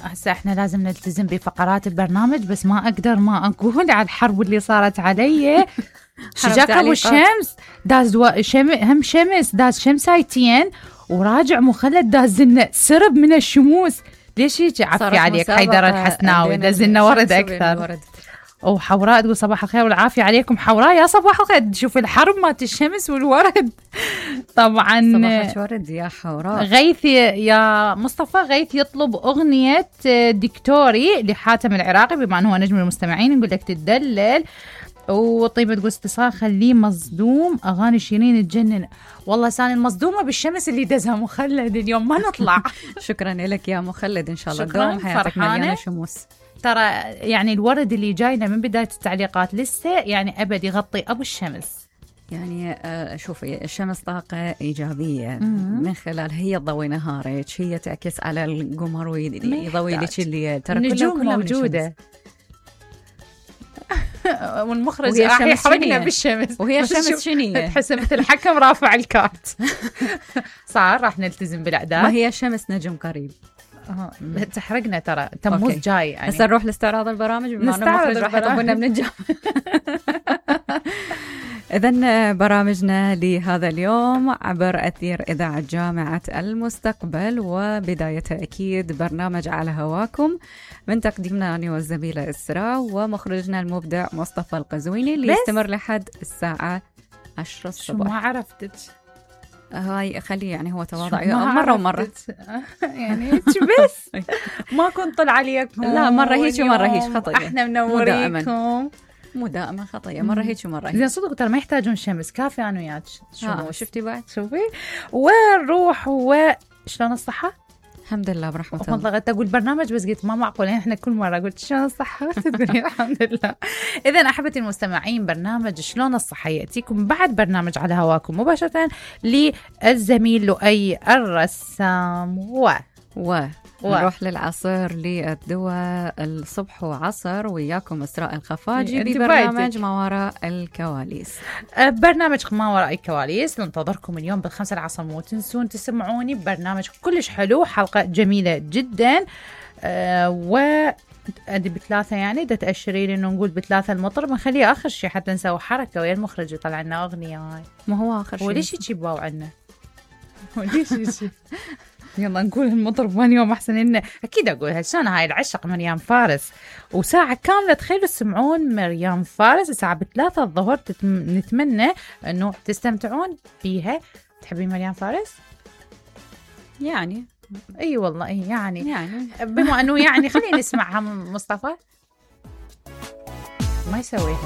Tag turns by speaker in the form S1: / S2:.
S1: هسه احنا لازم نلتزم بفقرات البرنامج، بس ما اقدر ما اقول على الحرب اللي صارت علي. شجاكة والشمس داز هم شمس داز شمسايتين، وراجع مخلد داز لنا سرب من الشموس. ليش هيك؟ عفي عليك حيدر الحسناوي داز لنا ورد اكثر. وحوراء تقول صباح الخير والعافية عليكم. حوراء يا صباح الخير، شوف الحرب مات الشمس والورد. طبعا
S2: صباح الورد يا حوراء.
S1: غيث يا مصطفى، غيث يطلب أغنية دكتوري لحاتم العراقي بما أنه هو نجم المستمعين، نقول لك تدلل. وطيبة تقول اتصال خليه مصدوم، أغاني شيرين تجنن. والله ساني المصدومة بالشمس اللي دزها مخلد اليوم ما نطلع.
S2: شكرا لك يا مخلد، إن شاء الله دوم حياتك مليانة شموس.
S1: ترى يعني الورد اللي جاينا من بداية التعليقات لسه يعني أبد يغطي أبو الشمس.
S2: يعني شوفي الشمس طاقة إيجابية من خلال هي تضوي نهارك، هي تعكس على القمر ويضوي لك الليل. ترى
S1: النجوم موجودة. والمخرج راح يحرقنا بالشمس،
S2: وهي الشمس شنية
S1: تحس مثل الحكم رافع الكارت. صار راح نلتزم بالأعداد.
S2: ما هي الشمس نجم قريب.
S1: تحرقنا ترى تموز جاي يعني.
S2: هسه نروح لاستعراض البرامج بما أن المخرج راح يطبنا من الجو. إذن برامجنا لهذا اليوم عبر أثير إذاعة جامعة المستقبل، وبداية أكيد برنامج على هواكم من تقديمنا أنا والزميلة إسراء ومخرجنا المبدع مصطفى القزويني، اللي يستمر لحد الساعة 10 الصبح.
S1: ما عرفتك
S2: هاي خليه يعني هو تواضع مرة ومرة
S1: يعني بس ما كنت طلع عليكم.
S2: لا مرة هيك ومرة هيك خطية.
S1: احنا منوريكم.
S2: مو دائما خطية، مرة هيك ومرة هيك.
S1: زين صدق ترى ما يحتاجون شمس، كافي أنا وياك.
S2: شفتي بعد؟
S1: شوفي ونروح. وشلون الصحة؟
S2: الحمد لله برحمة الله.
S1: والله قلت أقول برنامج بس قلت ما معقول احنا كل مرة قلت شلون الصحة تقولين الحمد لله. إذن أحبتي المستمعين، برنامج شلون الصحة يأتيكم بعد برنامج على هواكم مباشرة للزميل لؤي الرسام.
S2: نروح للعصر للدواء الصبح وعصر وياكم إسراء الخفاجي ببرنامج ما وراء الكواليس.
S1: برنامج ما وراء الكواليس ننتظركم اليوم ب5 العصر. مو تنسون تسمعوني ببرنامج كلش حلو، حلقة جميلة جدا. أدي ب3 يعني دا تأشري لي إنه نقول ب3 المطرب، نخليه آخر شيء حتى نسوي حركة ويا المخرج يطلع لنا أغنية. هاي
S2: ما هو آخر شيء.
S1: وليش يجيبوا عنا؟ وليش يجي؟ يلا نقول المطرب من يوم أحسن. إنه أكيد أقولها شلون هاي العشق مريم فارس، وساعة كاملة تخيلوا تسمعون مريم فارس الساعة 3 الظهر. نتمنى إنه تستمتعون بيها. تحبين مريم فارس؟
S2: يعني
S1: أي والله يعني بما أنه يعني خلينا نسمعها. مصطفى ما يسويها.